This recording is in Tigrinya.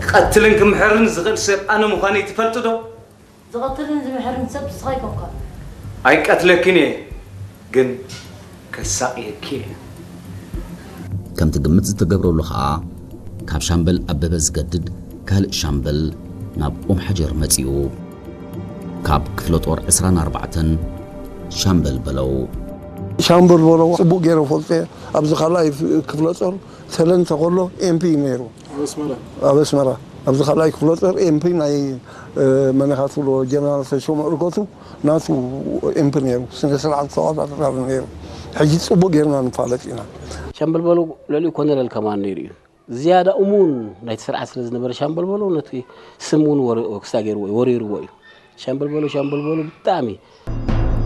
ክቐትልን ክምሕርን ዝኽእል ሰብ ኣነ ምዃነይ ትፈልጢ ዶ? ዝቐትልን ዝምሕርን ሰብ ንስኻ ኣይኮንካ። ኣይቀትለክን እየ፣ ግን ከሳቕየኪ እየ። ከምቲ ግምት ዝተገብረሉ ኸኣ ካብ ሻምበል ኣበበ ዝገድድ ካልእ ሻምበል ናብ ኦም ሓጀር መጺኡ። ካብ ክፍለ ጦር ዕስራን ኣርባዕተን ሻምበል በለው። ሻምበል በለው ጽቡቕ ገይረ ፈልጦ እየ። ኣብዚ ካልኣይ ክፍለ ጦር ሰለንተ ከሎ ኤምፒ ነይሩ ኣብ ኣስመራ። ኣብዚ ካልኣይ ክፍለ ጦር ኤምፒ ናይ መነኻ ትብሎ ጀነራል ተሾመ እርገቱ ናቱ ኤምፒ ነይሩ። ስነ ስርዓት ተቆጣጣሪ ነይሩ። ሕጂ ጽቡቕ ጌርና ንፋለጥ ኢና። ሻምበል በለው ልዕሊኡ ኮነረል ከማን ነይሩ እዩ። ዝያዳ እሙን ናይቲ ስርዓት ስለ ዝነበረ ሻምበል በለው ነቲ ስም እውን ወረ- ክስታ ገይርዎ እዩ፣ ወሪርዎ እዩ። ሻምበል በለው ሻምበል በለው ብጣዕሚ